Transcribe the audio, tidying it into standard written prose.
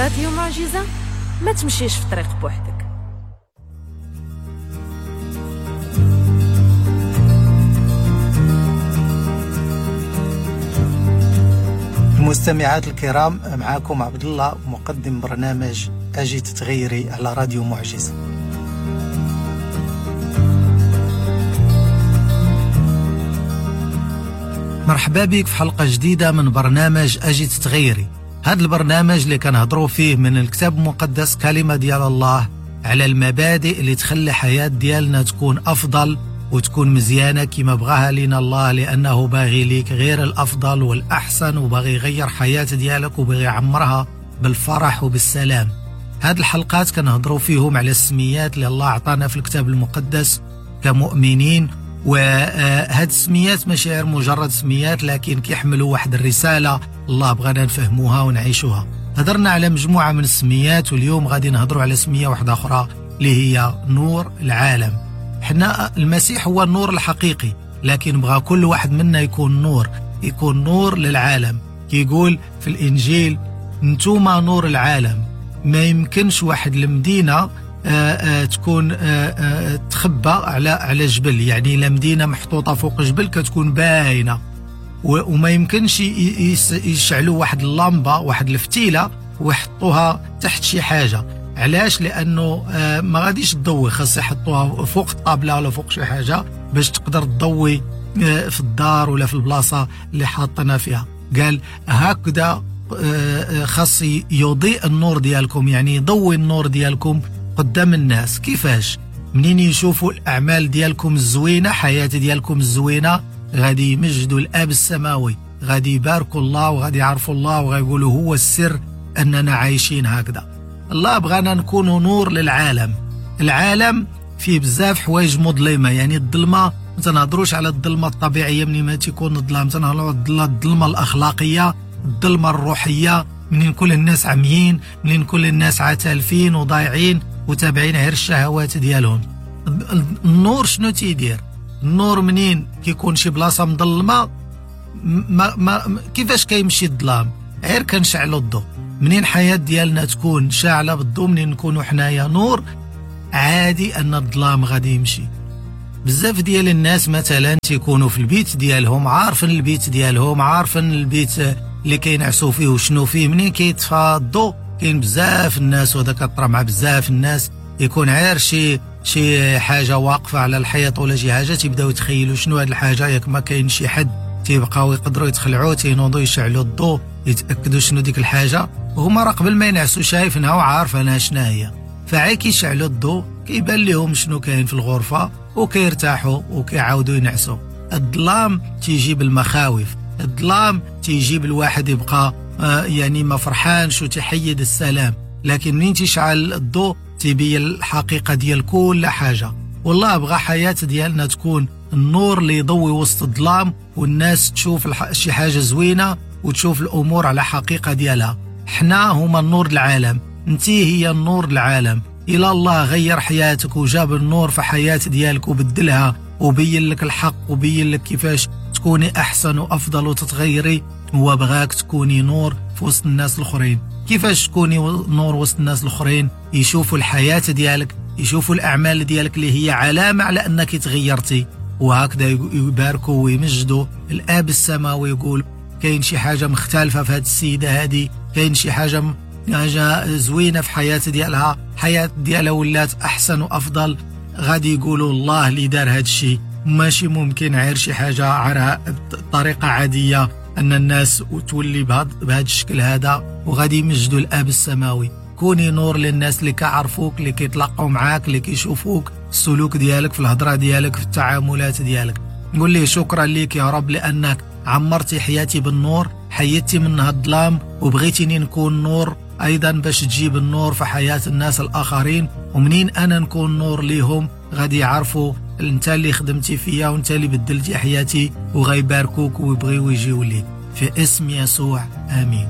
راديو معجزة، ما تمشيش في طريق بوحدك. المستمعات الكرام، معاكم عبد الله مقدم برنامج أجي تتغيري على راديو معجزة. مرحبا بك في حلقة جديدة من برنامج أجي تتغيري. هذا البرنامج اللي كنهضروا فيه من الكتاب المقدس، كلمة ديال الله، على المبادئ اللي تخلي حياة ديالنا تكون أفضل وتكون مزيانة كما بغاها لنا الله، لأنه باغي ليك غير الأفضل والأحسن، وباغي يغير حياة ديالك وباغي يعمرها بالفرح وبالسلام. هاد الحلقات كنهضروا فيهم على السميات اللي الله عطانا في الكتاب المقدس كمؤمنين، وهاد السميات ماشي غير مجرد سميات، لكن كيحملوا واحد الرسالة الله بغانا نفهموها ونعيشوها. هضرنا على مجموعة من السميات، واليوم غادي نهضروا على سمية واحدة أخرى اللي هي نور العالم. حنا المسيح هو النور الحقيقي، لكن بغى كل واحد منا يكون نور، يكون نور للعالم. كيقول في الإنجيل نتوما نور العالم. ما يمكنش واحد المدينة تكون تخبى على جبل، يعني لا مدينة محطوطة فوق جبل كتكون باينة، وما يمكنش يشعلوا واحد اللمبة، واحد الفتيلة، ويحطوها تحت شي حاجة. علاش؟ لأنه ما غاديش تضوي، خاص يحطوها فوق الطابلة ولا فوق شي حاجة باش تقدر تضوي في الدار ولا في البلاصة اللي حاطنا فيها. قال هكذا خاص يضيء النور ديالكم، يعني يضوي النور ديالكم قدام الناس. كيفاش؟ منين يشوفوا الأعمال ديالكم الزوينة، حياة ديالكم الزوينة، غادي يمجدوا الآب السماوي، غادي يباركوا الله وغادي يعرفوا الله وغيقولوا هو السر أننا عايشين هكذا. الله بغانا نكونوا نور للعالم. العالم فيه بزاف حوايج مظلمة، يعني الظلمة ما تنهضروش على الظلمة الطبيعية منين ما تيكون الظلام، تنهضروا على الظلمة الأخلاقية، الظلمة الروحية، منين كل الناس عميين، منين كل الناس عتالفين وضايعين وتابعين غير الشهوات ديالهم. النور شنو تيدير؟ النور منين كيكون شي بلاصة مظلمة، ما كيفاش كيمشي الظلام؟ غير كنشعلوا الضوء. منين حياة ديالنا تكون شاعلة بالضوء، منين نكونوا حنايا نور، عادي أن الظلام غادي يمشي. بزاف ديال الناس مثلا تيكونوا في البيت ديالهم، عارفين البيت ديالهم، عارفين البيت اللي كينعسوا فيه وشنو فيه، منين كيطفى الضوء كاين بزاف الناس، وهذا كطرا مع بزاف الناس، يكون عار شي حاجة واقفة على الحيط ولا شي حاجة، تيبداو يتخيلوا شنو هاد الحاجة، ياك ما كاين شي حد، تيبقاو يقدروا يتخلعوا، تينوضوا يشعلوا الضوء يتأكدوا شنو ديك الحاجة، وهما راه قبل ما ينعسوا شايفينها وعارفينها شنو هي. فعي كيشعلوا الضوء كيبان لهم شنو كاين في الغرفة وكيرتاحوا وكيعاودوا ينعسوا. الظلام تيجيب المخاوف، الظلام تيجيب الواحد يبقى يعني ما فرحانش وتحيد السلام، لكن منين تشعل الضوء تبين الحقيقة ديال كل حاجة. والله بغى حياة ديالنا تكون النور اللي يضوي وسط الظلام، والناس تشوف شي حاجة زوينة وتشوف الأمور على حقيقة ديالها. حنا هما النور العالم، انتي هي النور العالم. إلى الله غير حياتك وجاب النور في حياة ديالك وبدلها وبين لك الحق وبين لك كيفاش تكوني أحسن وأفضل وتتغيري. هو بغاك تكوني نور في وسط الناس الآخرين. كيفاش تكوني نور وسط الناس الآخرين؟ يشوفوا الحياة ديالك، يشوفوا الأعمال ديالك اللي هي علامة على أنك تغيرتي، وهكذا يباركوا ويمجدوا الآب السماوي ويقول كاين شي حاجة مختلفة في هذه السيدة هذه، كاين شي حاجة زوينة في حياة ديالها، حياة ديالها ولات أحسن وأفضل. غادي يقولوا الله اللي دار هذا الشيء، ماشي ممكن غير شي حاجة على طريقة عادية أن الناس تولي بهذا الشكل هذا، وغادي يمجدوا الآب السماوي. كوني نور للناس اللي كيعرفوك، اللي كيتلاقوا معاك، اللي كيشوفوك، السلوك ديالك، في الهضرة ديالك، في التعاملات ديالك. نقول ليه شكرا ليك يا رب لأنك عمرتي حياتي بالنور، حيدتي منها الظلام، وبغيتيني نكون نور أيضا باش تجيب النور في حياة الناس الآخرين. ومنين أنا نكون نور ليهم غادي يعرفوا انت اللي خدمتي فيا وانت اللي بدلتي حياتي، وغيباركوك ويبغيو يجيو ليك. في اسم يسوع آمين.